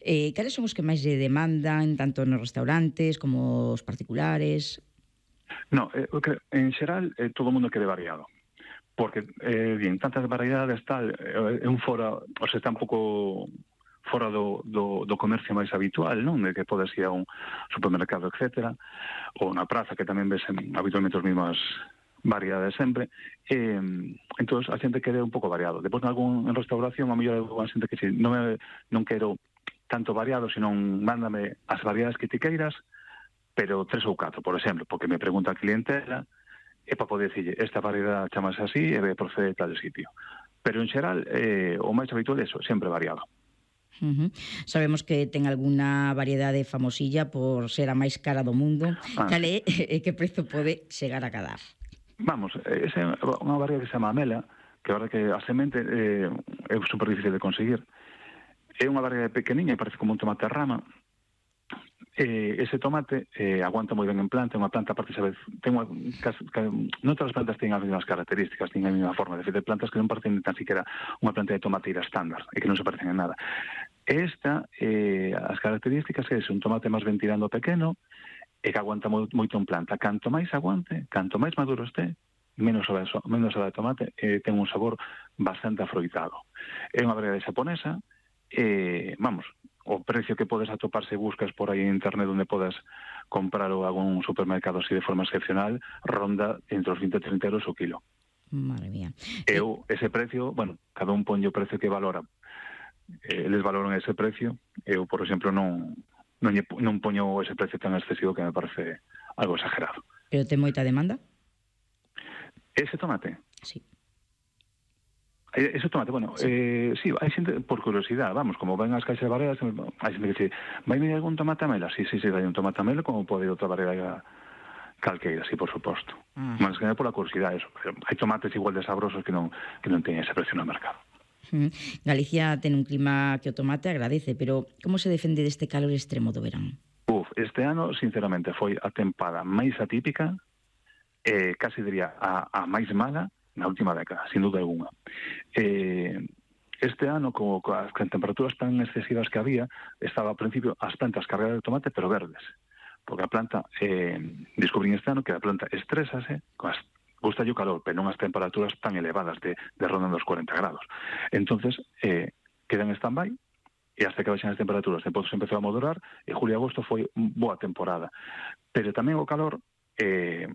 Cales son os que máis lle demandan, tanto nos restaurantes como os particulares? No, en xeral, todo o mundo quede variado. Porque, bien, tantas variedades, tal, é un fora, o sea, está un pouco fora do comercio máis habitual, non? De que podes ir a un supermercado, etcétera, ou na praza, que tamén ves habitualmente as mesmas variedades sempre. Entón, a xente quere un pouco variado. Depois, en restauración, a mellor a xente que si non quero tanto variado, senón mándame as variedades que ti queiras, pero 3 ou 4, por exemplo, porque me pregunta a clientela, e para poder dicirle, esta variedade chamase así e procede de tal sitio. Pero, en xeral, o máis habitual é eso, sempre variado. Sabemos que ten algunha variedade famosilla por ser a máis cara do mundo. Cal é e que prezo pode chegar a cadar? Vamos, esa é unha variedade que se chama amela, que a verdade que a semente é super difícil de conseguir. É unha variedade pequeniña, parece como un tomate a rama. Ese tomate aguanta moi ben en planta, é unha planta, aparte, sabes, non todas as plantas teñen as mesmas características, teñen a mesma forma. De feito, plantas que non parecen tan siquiera unha planta de tomateira estándar, e que non se parecen en nada. Esta, as características é un tomate máis ben tirando pequeno, e que aguanta moito en planta. Canto máis aguante, canto máis maduro este, menos sabe de tomate, ten un sabor bastante afroitado. É unha variedade xaponesa, vamos, o precio que podes atopar se buscas por aí en internet onde podes comprar ou algún supermercado así de forma excepcional, ronda entre os 20 e 30 euros o kilo. Madre mía. Eu, ese precio, bueno, cada un ponlle o precio que valora. Eles valoran ese precio, eu, por exemplo, non poño ese precio tan excesivo que me parece algo exagerado. Pero ten moita demanda? Ese tomate? Sí. Ese tomate, bueno, sí, hai xente, por curiosidade, vamos, como ven as caixas de variedades, hai xente que dice, vai me algún tomate amela? Sí, vai un tomate amela, como pode outra variedade calqueira, sí, por suposto. Mas que é por a curiosidade, eso. Hai tomates igual de sabrosos que non teñen ese precio no mercado. Galicia ten un clima que o tomate agradece, pero como se defende deste calor extremo do verán? Este ano, sinceramente, foi a tempada máis atípica, casi diría a máis mala na última década, sin duda alguna. Este ano, co as temperaturas tan excesivas que había, estaba ao principio as plantas cargadas de tomate, pero verdes. Porque a planta, descubrín este ano que a planta estrésase, gusta o calor, pero non as temperaturas tan elevadas de rondan dos 40 grados. Entonces, queda en stand-by, e hasta que baixan as temperaturas, depois se empezou a moderar, e julio e agosto foi boa temporada. Pero tamén o calor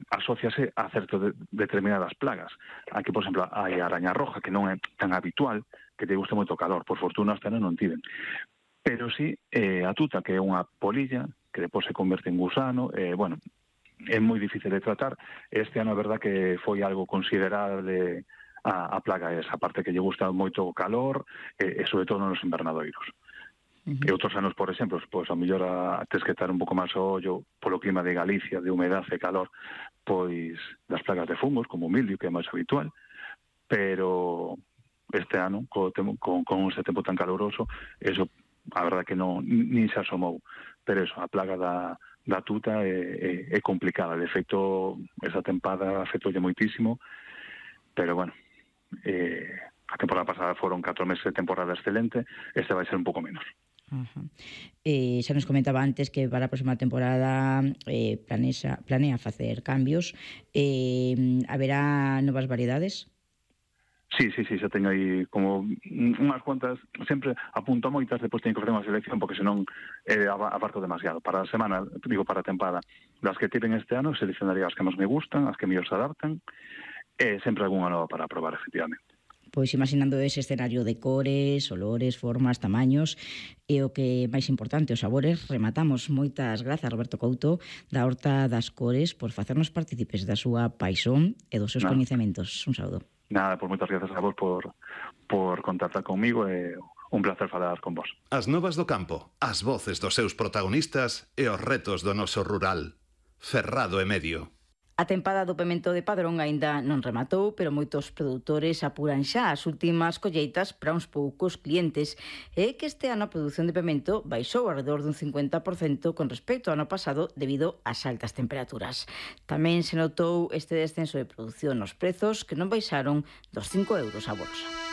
asociase a certo determinadas plagas. Aquí, por exemplo, hai a araña roja, que non é tan habitual, que te gusta moito o calor. Por fortuna, este ano non tiven. Pero sí, a tuta, que é unha polilla, que depois se converte en gusano, bueno, é moi difícil de tratar. Este ano, a verdad, que foi algo considerable a plaga esa parte, que lle gusta moito o calor, e sobre todo nos invernadoiros. E outros anos, por exemplo, pois a mellor tes que estar un pouco máis ao ollo polo clima de Galicia, de humedade e calor, pois das plagas de fungos, como o mildio, que é máis habitual, pero este ano, con ese tempo tan caluroso, eso, a verdad que non, nin se asomou. Pero eso, a plaga da tuta é complicada. De feito, esa tempada afectoulle moitísimo, pero bueno, a temporada pasada foron 4 meses de temporada excelente, este vai ser un pouco menos. Xa nos comentaba antes que para a próxima temporada planea facer cambios. Haberá novas variedades? Sí, xa teño aí como unhas cuantas, sempre apunto a moitas, depois teño que facer unha selección, porque senón abarco demasiado. Para a semana, para a tempada, das que tiven este ano, seleccionaría as que máis me gustan, as que mellor se adaptan, e sempre algunha nova para probar, efectivamente. Pois imaginando ese escenario de cores, olores, formas, tamaños e o que máis importante, os sabores, rematamos. Moitas grazas, Roberto Couto, da Horta das Cores, por facernos partícipes da súa paixón e dos seus coñecementos. Un saúdo. Nada, pois moitas grazas a vos por contactar comigo, e un placer falar con vos. As novas do campo, as voces dos seus protagonistas e os retos do noso rural. Ferrado e Medio. A tempada do pemento de Padrón aínda non rematou, pero moitos produtores apuran xa as últimas colleitas para uns poucos clientes. É que este ano a produción de pemento baixou alrededor dun 50% con respecto ao ano pasado debido ás altas temperaturas. Tamén se notou este descenso de produción nos prezos, que non baixaron dos 5 euros a bolsa.